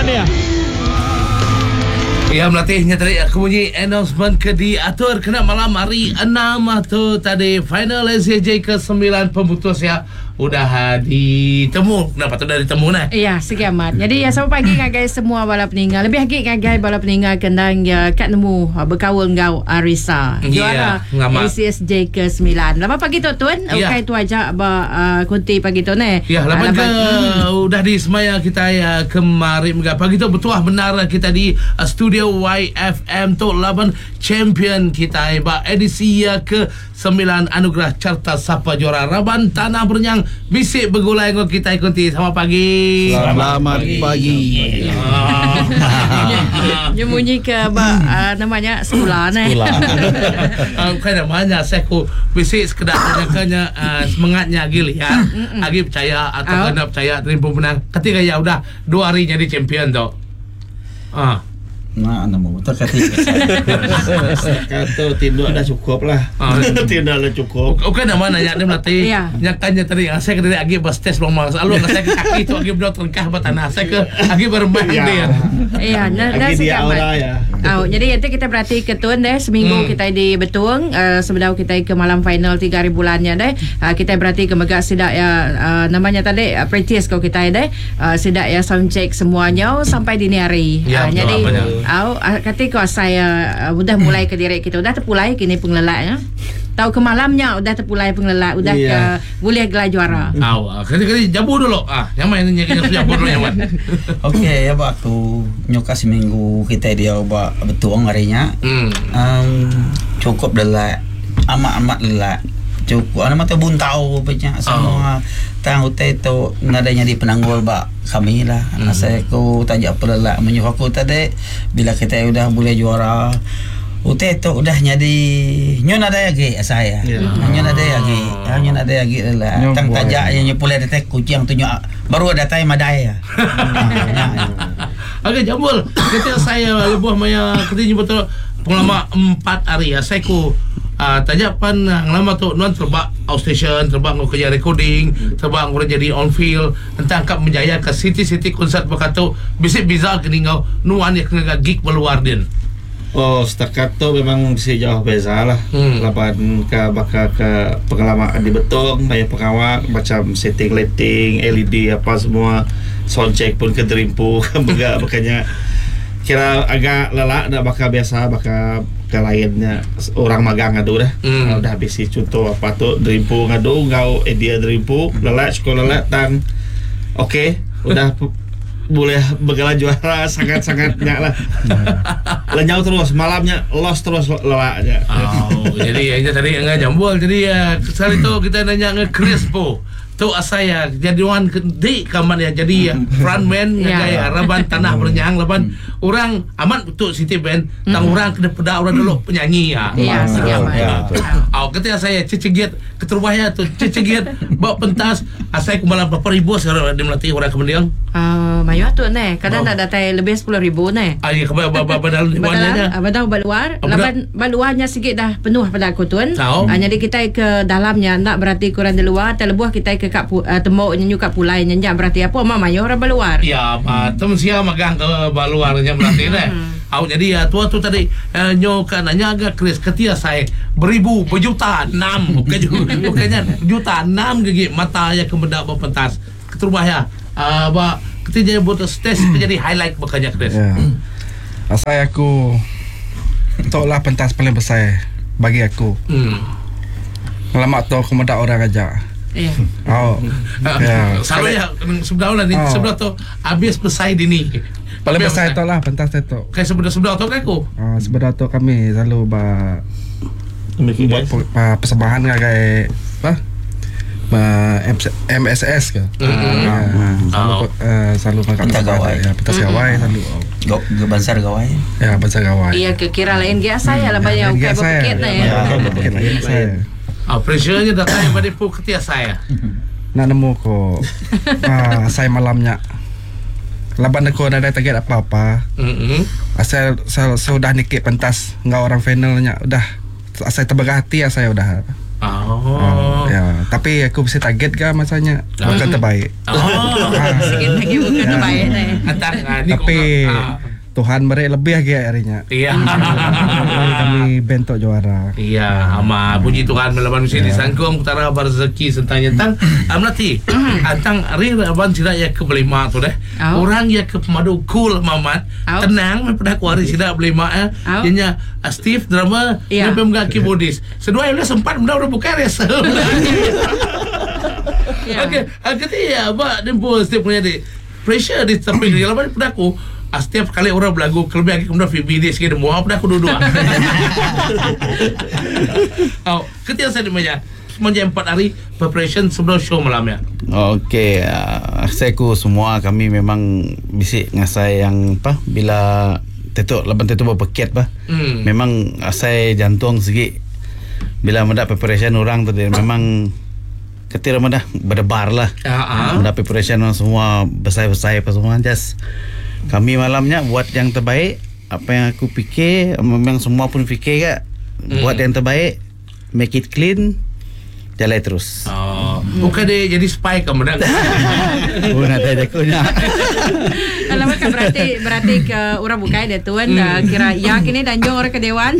Tahniah. Iya melatih nya tadi aku munyi announcement ke diatur kena malam hari enam tu tadi final SCJ ke sembilan pemutus iya udah ditemu kena patut udah ditemu neh. Iya sigi amat. Nyadi iya selamat pagi ngagai semua bala peninga lebih agi ngagai bala peninga ke endang iya ka nemu bekaul enggau Arisa. Juara ACSJ ke sembilan. Laban pagi tu tun ukai tu aja ba kunti pagi tu neh. Ya laban ke udah di semaya kitai kemari mega pagi tu betuah bendar kitai di studio YFM tu laban champion kitai ba edisi ke Sembilan Anugerah Carta Sapa Juara Raban Tanah Berenyang bisi begulai enggau kitai kunti. Selamat pagi. Selamat pagi. Nya munyi ke ba nama nya sekula neh. Sekula. Bukai nama nya asai ku bisi sekeda jaka nya semengat nya agi liat agi pechaya atau enda pechaya terimpu menang. Kati gaya udah dua hari nyadi champion tu. Ah. Nah, nemu betul kati. Setakat tu tinduk dah cukup lah. Ah. Tinduk dah cukup. Bukan nama nanya dia melati. Ya. Nya kan nya tadi asai ke diri agi ba stage lama. Selalu ngasai ke kaki tu agi bedau terengkah ba tanah. Asai ke agi berembang Ya. dia. Ya, na, na Agi dia segi amat. aura ya. Au, jadi enti kita berati ke tun deh seminggu kita di Betong uh, sebedau kita ke malam final 3 hari bulan nya deh. Uh, kita berati ke mega sida ya uh, namanya tadi uh, practice ko kita deh. Sida iya sound check semua nyau sampai dini hari. Ya, betul Nyadi apa nya. au kati ko asai udah mulai ke diri kita udah tepulai kini pengelelak nya. Tau ke malam nya udah tepulai pengelelak udah ke Ya. bulih gelar juara. Au, kati kati jabu dulu. Ah, nyamai nya nya jabu dulu nyaman. Okey, ya ba aku nyuka seminggu kitai diau ba Betong hari nya. Um cukup lelak, amat-amat lelak. Cukup nama tu buntau pe nya semua. Tang utai tu nadai nyadi penanggul ba kami lah. Asai aku taja pelelak menyuh aku tadi bila kitai udah bulih juara utai tu udah nyadi nyu nadai agi asai iya. Nyu nadai agi nyu nadai agi lelak. Tang taja iya nyu pulai datai kuching tu nyu baru datai madai iya. Nya. Okey Jambul, keti asai lebuh maya keti nyebut tu pengelama empat hari asai ku aaa taja pan ngelama tu nuan terebak outstation, terebak enggau kerja recording, terebak enggau jadi on field enta angkap menjayaka siti-siti konsert baka tu bisi beza ke enggau nuan iya ke ngaga gig ba luar din. Oh setakat tu memang bisi jauh beza lah laban ka baka ke pengelama di Betong mayuh pengawa macam setting lighting, LED apa semua sound check pun ke derimpu mega baka nya kira agak lelak enda baka biasa baka ke lain nya orang magang ngadu dah udah bisi chunto apa tu derimpu ngadu enggau idea derimpu lelak cukup lelak tang ok udah. Bulih begela juara sangat-sangat nya lah. Lenyau terus malam nya lost terus lelak nya. Oh, jadi nya tadi enggau jambul jadi uh, sekali tu kita nanya enggau Chris po. Tu asai ya jadi wan di kaman ya jadi frontman ngagai yeah. raban tanah berenyang laban orang amat betul siti band tang orang kena peda orang dulu penyanyi ya. Ya, sigi amat. Ya. Au kata saya cecegit keterubah ya tu cecegit ba pentas Asai ku malam berapa ribu sekarang di Melati orang ke mending? Uh, mayuh tu neh. Kadang oh. nak datai lebih 10 ribu neh. Ah, ya, ba ba ba dalam ba dalam, ba dalam ba luar. Oh, Laban ba luarnya sikit dah penuh pada aku tuan. Uh, jadi kita ke dalamnya nak berarti kurang di luar, terlebuh kita ke kap uh, tembok nyu kat pulai nya nya berarti apa ma mayuh orang ba luar. Ya, ma tem sia magang ke ba luar nya Melati neh. Hmm. Au jadi ya tua tu tadi uh, nyo ka nanya ga Chris ketia sai beribu berjuta enam bukan bukannya juta enam gigi mata ya ke meda ba pentas keterubah ya uh, ba keti jadi buat stage ke jadi highlight baka nya Chris. Ya. Asai aku tu lah pentas paling besar bagi aku. Hmm. Lama tu aku meda orang aja. Ya. Oh. Ya. Selalu ya sebelah lah ni Oh. sebelah tu habis besai dini. Paling besar tu lah pentas tu. Kai sebelah sebelah tu kan aku. Uh, sebelah tu kami selalu ba buat persembahan ngagai apa? Ba MSS ke. Mm-hmm. Selalu Oh. selalu makan Pentas gawai. Ya, pentas gawai selalu. Go, go bansar gawai. Ya, pentas gawai. Iya ke kira lain ge asai lah Ya, banyak lain ukai ge asai. bukit nah ya. Ya, bukit lain saya. Ah, pressure-nya datai ba dipu ketia saya. Nak nemu ko. Ah, saya malamnya. Laban aku nadai target apa-apa. Mm-hmm. Asal sudah nikik pentas enggau orang final nya udah asai tebegah ati asai udah. Oh. Oh. Ya, tapi aku mesti target ga masa nya bukan terbaik. Oh. Sikit lagi bukan terbaik ni. Antang ah, ni Tapi kau- ah. Tuhan beri lebih lagi hari nya. Iya. Kami bentuk juara. Iya, ama puji Tuhan melawan mesti disangkung utara rezeki sentang nyentang. Amlati, antang ari aban sida ya ke belima tu deh. Au. Orang ya ke pemadu cool mamat, Au. tenang me pada aku hari sida belima eh. Au. Dia nya ah, Steve drummer, Ya. dia pemegang keyboardist. Seduai udah sempat benda udah buka resa. Ya. Okey, ah, keti ya, ba dempo Steve punya di pressure di tepi dia lawan pada aku. Ah, setiap kali orang berlagu kelebih lagi kemudian Phoebe dia sikit demua pada aku duduk. Oh, ketika saya dimaya semenjak 4 hari preparation sebelum show malamnya. Okey, saya ku semua kami memang bisik ngasai yang apa bila tetuk laban tetuk berpeket bah. Memang asai jantung segi bila mendak preparation orang tadi memang ketir dah berdebar lah. Ah, ah. Mendak preparation orang semua besai-besai apa semua just kami malamnya buat yang terbaik apa yang aku fikir memang semua pun fikir kak buat yang terbaik make it clean jalan terus. Oh, bukan dia jadi spy ke menang. Oh, nak ada aku nak. Kalau kan berarti berarti ke orang bukai dia tuan kira ya kini danjong orang ke dewan.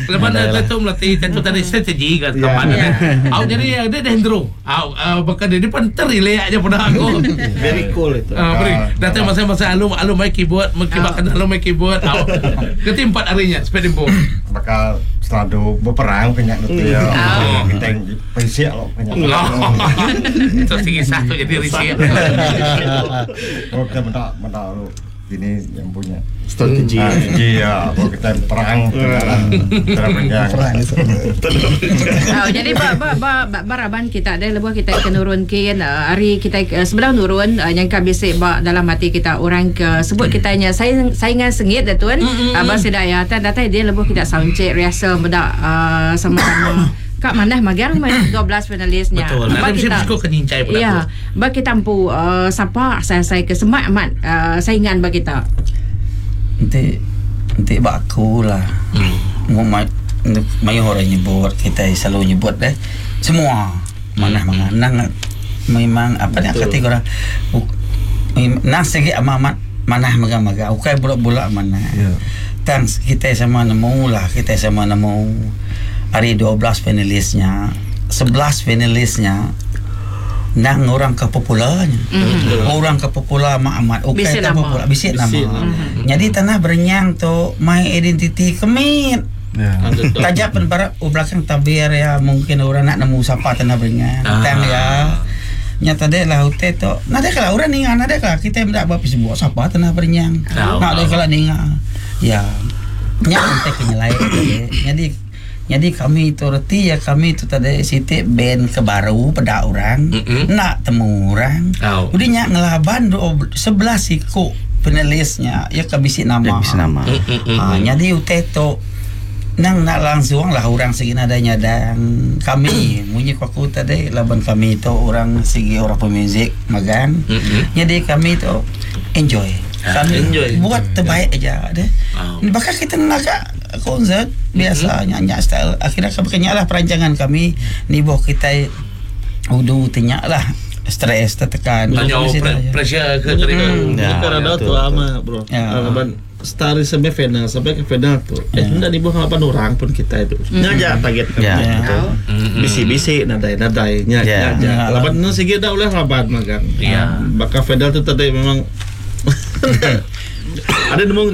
Lepas Ada lah. tu melatih tentu tadi strategi kan kapan Ya. Au jadi dia dendro. Au bahkan dia depan terilek aja pada aku. Very cool itu. Ah, beri. Datang masa-masa alum alum main keyboard, mengkibatkan alum main keyboard. Au. Keti 4 harinya sepeda dempo. Bakal selalu berperang banyak tu ya. Oh. Kita yang perisik loh banyak. Itu tinggi satu jadi risik. Oh kita mentak mentak lu ini yang punya Strategi. strategi ya. Oh kita perang perang Perang itu. Oh, jadi ba ba ba, ba baraban kita ada lebuh kita ke nurun kin hari kita sebelah nurun yang bisik ba dalam hati kita orang ke sebut kita nya saing saingan sengit dah tuan. Abang sedaya tan datai dia lebuh kita sound check rehearsal bedak sama-sama. Kak mana magang main 12 finalisnya. Betul. Ba Ada mesti mesti kau kenyincai pada Ya, aku. ba kita empu siapa saya-saya ke semak amat saingan ba kita. Nanti nanti bak aku lah. Mau mayu orang nyebut kita selalu nyebut deh. Semua mana mana nang memang apa nak kata korang nang segi amat manah maga-maga ukai bulak-bulak mana. Ya. Tang kita sama nemu lah kita sama nemu hari 12 finalisnya 11 finalisnya nang orang ke popularnya orang ke popular mak amat ukai Bisik tak nama. popular bisik nama Bisik nama. jadi tanah berenyang tu my identity kemit Ya. Tajak pen para oh, belakang tabir ya mungkin orang nak nemu siapa tanah berenyang Ah. tang ya nyata dek lah hotel tu nada kalau orang ninga nada kalau kita mendak buat sebuah siapa tanah berenyang Tahu. nak ada kalau ninga ya nya ente kenyelai jadi jadi kami itu reti ya kami itu tadi siti band ke baru pada orang Mm-mm. nak temu orang Tahu. udah nya ngelaban 11 siku penulisnya ya kabisi nama Dia bisa nama. Ha, jadi utai tu nang nak langsung lah orang segi nada nyadang kami munyi ku aku tadi laban kami tu orang segi orang pemuzik magang Mm-mm. jadi kami tu enjoy kami enjoy. buat terbaik aja deh Oh. bahkan kita nak konsert biasa nyanyi style akhirnya kami kenyak lah perancangan kami ni boh kita udu tinyak lah stres tertekan Tanya Kami sini aja. pressure ke tadi. Ya, Karena ya, ada betul, tu ama bro. Ya. Laban stari sampai final sampai ke final tu. Eh tidak di bawah 8 orang pun kita itu. Nya aja target kami. Ya. Gitu. Bisi-bisi nadai nadai nya Ya. nya aja. Ya. Laban nu sigi dah oleh laban magang. Ya. Bakal final tu tadi memang ada nemu